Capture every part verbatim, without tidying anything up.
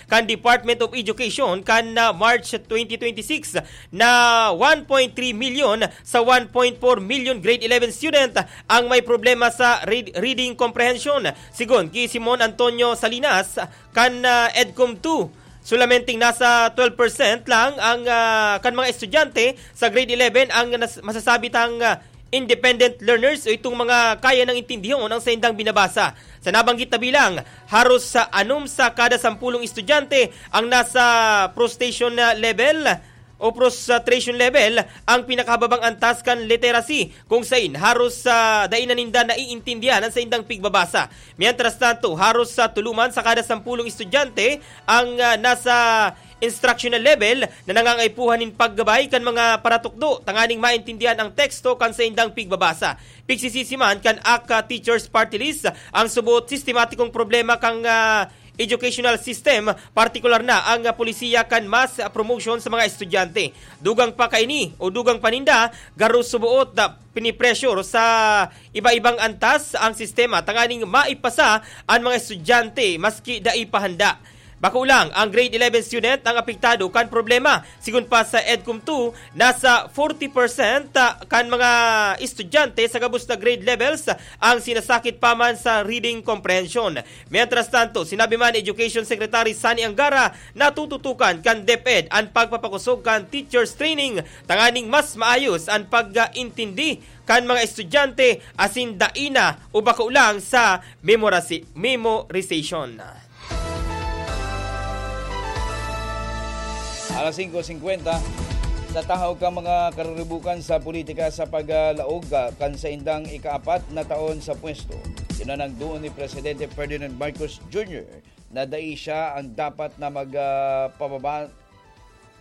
kan Department of Education kan, ah, March twenty twenty-six na one point three million sa one point four million grade eleven student ang may problema sa read-, reading comprehension. Sigon ki Simon Antonio Salinas kan, ah, EDCOM two, solamente nasa twelve percent lang ang, ah, kan mga estudyante sa grade eleven ang nas-, masasabi tang, ah, independent learners o itong mga kaya nang intindihon ang saindang binabasa. Sa nabanggit na bilang, haros sa anom sa kada sampulong estudyante ang nasa prostration na level o prostration level ang pinakahababang antas kan literacy, kung sain haros sa dai na ninda naiintindihan ang saindang pigbabasa. Mientras tanto, haros sa tulo man sa kada sampulong estudyante ang, ah, nasa instructional level na nangangaipuhan nin paggabay kan mga paratukdo tanganing maintindihan ang teksto kan saindang pigbabasa. Pigsisisi man kan aka Teachers Party List ang subot sistematikong problema kan, ah, educational system, partikular na ang, ah, polisiya kan mass promotion sa mga estudyante. Dugang pa kaini o dugang pa ninda, garo suboot na pinipressure sa iba-ibang antas ang sistema tanganing maipasa an mga estudyante maski dai pa handa. Bako lang ang grade eleven student ang apektado kan problema. Sigon pa sa EDCOM two, nasa forty percent kan mga estudyante sa gabos na grade levels ang sinasakit pa man sa reading comprehension. Mientras tanto, sinabi man ni Education Secretary Sunny Angara na tututukan kan DepEd an pagpapakosog kan teachers training tanganing mas maayos an pag-intindi kan mga estudyante asin dai na o bako lang sa memorasi-, memorization. Alas singko singkwenta, sa tahaw kan mga karuribukan sa politika sa paglaog, ah, kan saindang ikaapat na taon sa pwesto, tinanangdoon ni Presidente Ferdinand Marcos Junior na dai siya ang dapat na mag, ah, pababa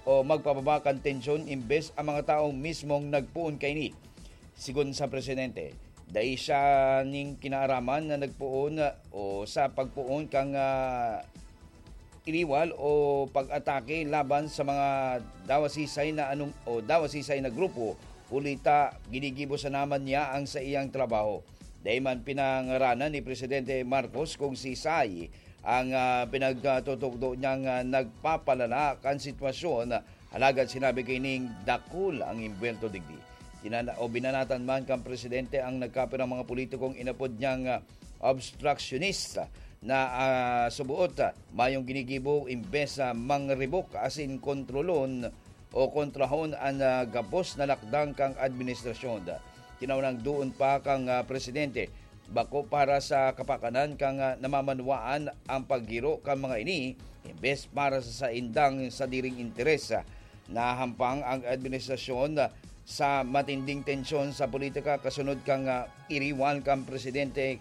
o magpababa kan tensyon imbes ang mga taong mismong nagpoon kaini. Sigon sa presidente, dai siya nin kinaaraman na nagpoon o sa pagpoon kan, ah, iriwal o pag-atake laban sa mga dawasisay na anum-, o dawasisay na grupo, huli ta ginigibo sana man niya ang saiyang trabaho. Dai man pinangaranan ni Presidente Marcos kung sisay ang, ah, pinagtutukdo niyang, ah, nagpapalala kan sitwasyon, alagad sinabi kaining dakul ang imbuwelto digdi. Tinana-, o binanatan man kan presidente ang nagkapirang mga politikong inapod niyang, ah, obstructionist na, ah, subuot, ah, mayong ginigibo imbes na mangribok asin kontrolon o kontrahon an, ah, gabos na lakdang kan administrasyon. Tinawan ang doon pa kan, ah, presidente, bako para sa kapakanan kan, ah, namamanwaan ang paggiro kan mga ini, imbes para sa saindang sadiring interes. Nahampang ang administrasyon sa matinding tensyon sa politika kasunod kan, ah, iriwal kan presidente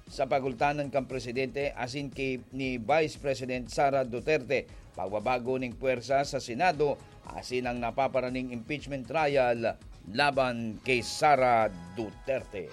sa pagultanan kan presidente asin ki ni Vice President Sara Duterte, pagbabago ning pwersa sa Senado asin ang napaparaning impeachment trial laban ki Sara Duterte.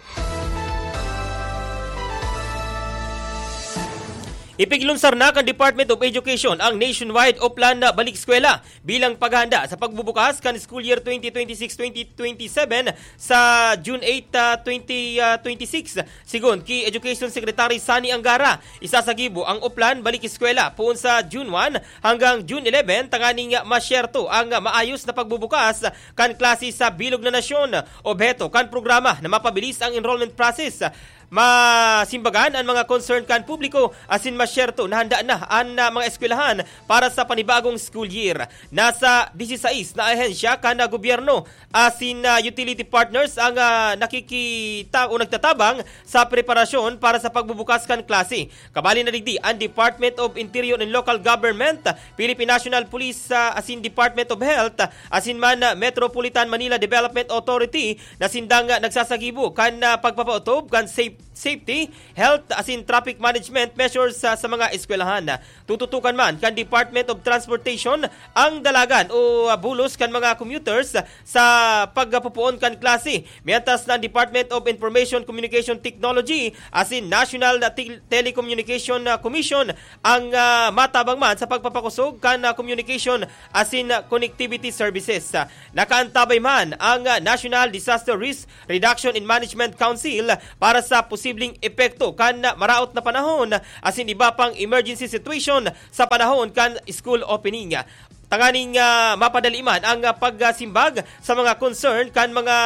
Ipiglunsar na kan Department of Education ang nationwide Oplan na Balik Eskwela bilang paghahanda sa pagbubukas kan school year twenty twenty-six twenty twenty-seven sa June eight, ah, twenty twenty-six. Sigon ki Education Secretary Sunny Angara, isasagibo ang Oplan Balik Eskwela poon sa June one hanggang June eleven tanganing masyerto ang maayos na pagbubukas kan klase sa bilog na nasyon. Obheto kan programa na mapabilis ang enrollment process, masimbagan an mga concern kan publiko asin masyerto na handa na an, ah, mga eskwelahan para sa panibagong school year. Nasa disisais na ahensya kan, ah, gobyerno asin, ah, utility partners ang, ah, nakikita o nagtatabang sa preparasyon para sa pagbubukas kan klase. Kabali na digdi an Department of Interior and Local Government, Philippine National Police, ah, asin Department of Health, asin man, ah, Metropolitan Manila Development Authority na sindang, ah, nagsasagibo kan, ah, pagpapaotob kan safe-, safety, health, asin traffic management measures sa, sa mga eskwelahan. Tututukan man kan Department of Transportation ang dalagan o, ah, bulos kan mga commuters sa pagpupoon kan klase, mientras na ang Department of Information Communication Technology asin National Tel-, Telecommunication, ah, Commission ang, ah, matabang man sa pagpapakosog kan, ah, communication asin, ah, connectivity services. Ah, nakaantabay man ang, ah, National Disaster Risk Reduction and Management Council para sa posibleng posibleng epekto kan maraot na panahon asin iba pang emergency situation sa panahon kan school opening. Tanganing ah, mapadali man ang ah, pagsimbag sa mga concern kan mga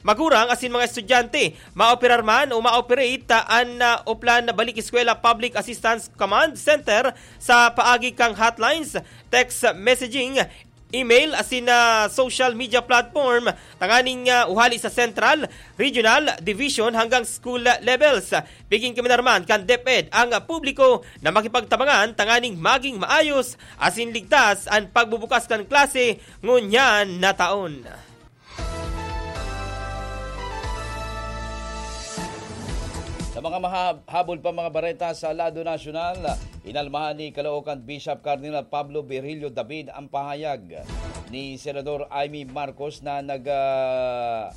magurang asin mga estudyante, maoperar man o ma-operate ah, an ah, Oplan Balik Eskwela Public Assistance Command Center sa paagi kan hotlines, text messaging, email asin ah, social media platform tanganing ah, uhali sa central, regional, division hanggang school levels. Pigin kami naman kan DepEd ang ah, publiko na makipagtabangan tanganing maging maayos asin ligtas an pagbubukas kan klase ngunyan na taon. Sa mga mahabol pa mga bareta sa lado nasyonal, inalmahan ni Caloocan Bishop Cardinal Pablo Virgilio David ang pahayag ni Senador Imee Marcos na nag, ah,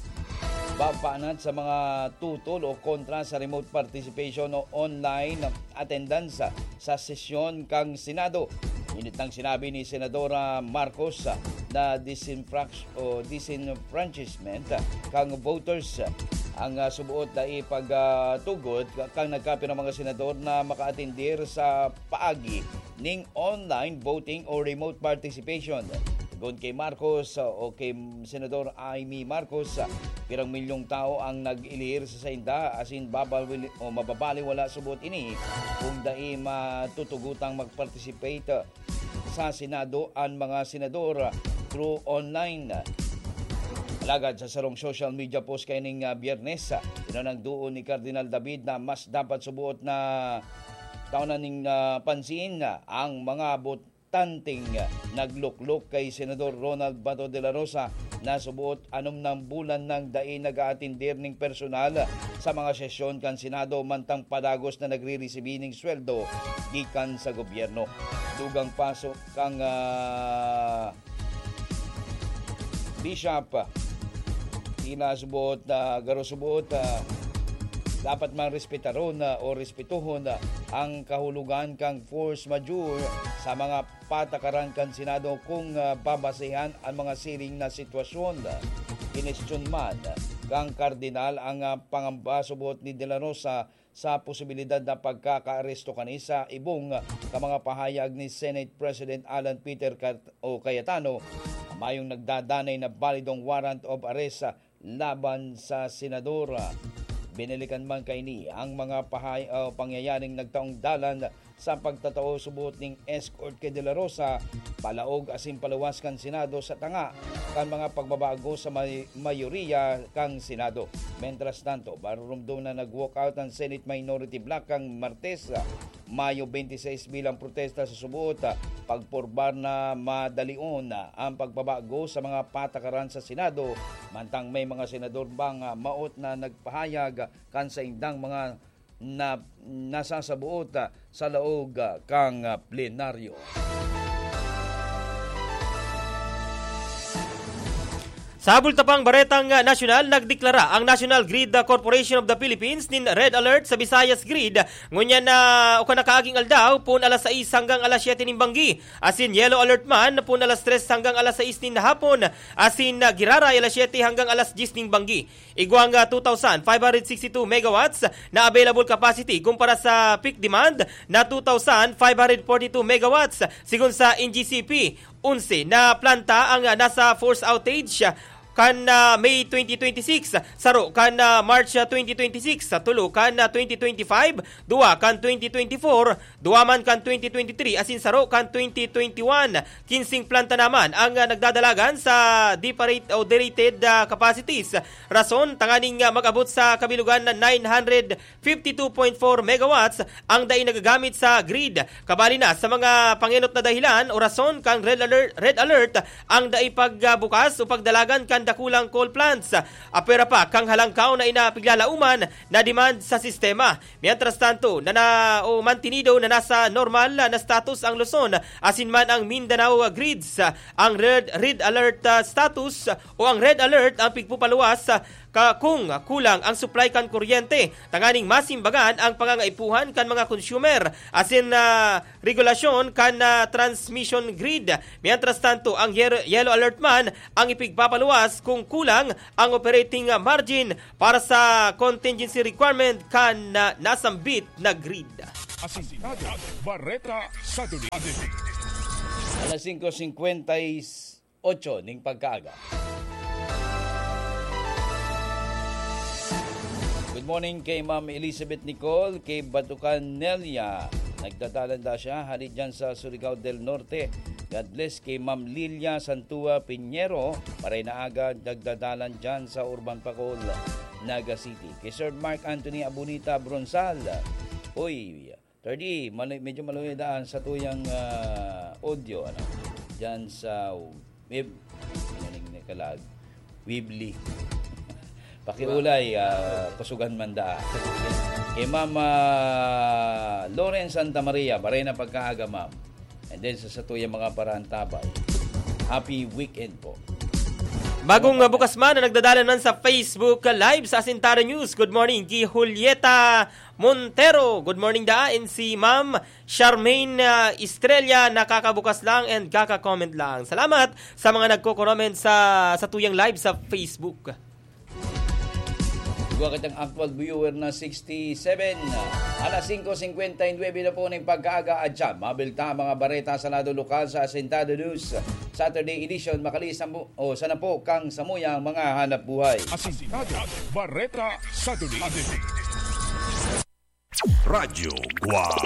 babanat sa mga tutol o kontra sa remote participation o online attendance sa sesyon kan Senado. Init nang sinabi ni Senadora Marcos na disenfrac-, o disenfranchisement kan voters ang ah, subuot na ipagtugot kan nagkapirang mga senador na makaatindir sa paagi ning online voting o remote participation. Segun kay Marcos o kay Senador Imee Marcos, pirang milyong tao ang nag-ilir sa sainda asin babali o mababaliwala subot ini kung dai matutugutang mag-participate sa Senado an mga senador through online. Alagad sa sarong social media post kaining ah, Biyernes, ah, tinanang doon ni Cardinal David na mas dapat subuot na taon na ning ah, pansin ang mga botanteng nagluklok kay Senador Ronald Bato de la Rosa na subuot anom nang bulan nang dai nag-aatindir ning personal sa mga sesyon kan Senado mantang padagos na nagriresibi ning sweldo gikan sa gobyerno. Dugang paso kang ah, Bishop, tila subot na garo subot ah, dapat man respetaron ah, o respetuhon ah, ang kahulogan kang force majeure sa mga patakaran kan Senado kung ah, babasehan ang mga siring na sitwasyon. Kinestyon man kang Kardinal ang ah, pangamba subot ni De La Rosa sa posibilidad na pagkakaaresto kani sa ibong ka mga pahayag ni Senate President Alan Peter Cat-, o Cayetano, mayong nagdadanay na balidong warrant of arrest laban sa senador. Binalikan man kaini ang mga pahay-, o pangyayaring nagtaong dalan sa pagtatao subot ning escort kay De La Rosa palaog asin paluwas kan Senado sa tanga kan mga pagbabago sa may-, mayoriya kan Senado. Mientras tanto, marurumdom na nag-walkout ang Senate Minority Bloc kan Martes, Mayo twenty-six, bilang protesta sa suboot pagporbar na madalion ang pagbabago sa mga patakaran sa Senado, mantang may mga senador bang maot na nagpahayag kan saindang mga na nasasaboot ah, sa laog ah, kan ah, plenaryo. Sa bulta pang baretang ah, nasyonal, nagdeklara ang National Grid ah, Corporation of the Philippines nin Red Alert sa Visayas Grid. Ngunyan na o kanakaaging aldaw, pun alas sais hanggang alas siyete nin banggi. Asin Yellow Alert man, pun alas tres hanggang alas sais nin hapon. Asin ah, giraray alas siyete hanggang alas dyes nin banggi. Igwang ah, two thousand five hundred sixty-two megawatts na available capacity kumpara sa peak demand na two thousand five hundred forty-two megawatts. Sigon sa N G C P, onse na planta ang ah, nasa force outage kan ah, May twenty twenty-six, saro kan ah, March ah, twenty twenty-six, tulo kan ah, twenty twenty-five, duwa kan twenty twenty-four, duwa man kan twenty twenty-three asin saro kan twenty twenty-one. Kinsing planta naman ang ah, nagdadalagan sa deparate o derated ah, capacities. Rason, tanganing ah, mag-abot sa kabilugan na nine hundred fifty-two point four megawatts ang dai nagagamit sa grid. Kabali na sa mga pangenot na dahilan o rason kan red alert, red alert ang dai pagbukas o pagdalagan kan dakulang coal plants. Apwera pa kan halangkaw na ina piglalauman na demand sa sistema. Mientras tanto, na, na o mantinido na nasa normal na status ang Luzon asin man ang Mindanao grids. Ang red, red alert ah, status o ang red alert ang pigpupaluwas ah, ka kung kulang ang supply kan kuryente, tanganing masimbagan ang pangangaipuhan kan mga consumer, asin na regulasyon kan na transmission grid. Mientras tanto, ang yer- yellow alert man ang ipigpapaluwas kung kulang ang operating margin para sa contingency requirement kan na nasambit na grid. Asintado, Bareta sa Duli. Alas singko singkwenta y ocho ning pagkaaga. Good morning kay Ma'am Elizabeth Nicole, kay Batukan Nelia. Nagdadalan da siya, hali dyan sa Surigao del Norte. God bless kay Ma'am Lilia Santua Piñero, maray na aga, nagdadalan dyan sa Urban Pacol, Naga City. Kay Sir Mark Anthony Abunita Bronsal. Uy, Third E, mali-, medyo maluya daan sa tuyang, ah, audio, ano? Diyan sa web, ano ning nakalag? Weebly. Pakiulay, ah, kusugan man daan. Kay Ma'am, ah, Lauren Santa Maria, maray na pagkaaga, ma'am. And then sa, sa tuyang mga parantabay, happy weekend po. Bagong, ah, bukas man na nagdadalan man sa Facebook Live sa Asintado News. Good morning, G. Julieta Montero. Good morning, daan. Si Ma'am Charmaine, ah, Estrella, nakakabukas lang and kaka-comment lang. Salamat sa mga nagko-comment sa, sa tuyang live sa Facebook. Igwa kitang actual viewer na sixty-seven. Alas singko singkwenta y nuebe na po ning pagkaaga at siya. Mabilta ang mga bareta sa lado lokal sa Asintado News Saturday Edition. Makalisan po, o sana po, kang samuyang mga hanap buhay. Asintado, Bareta sa Duli. Radyo Guam.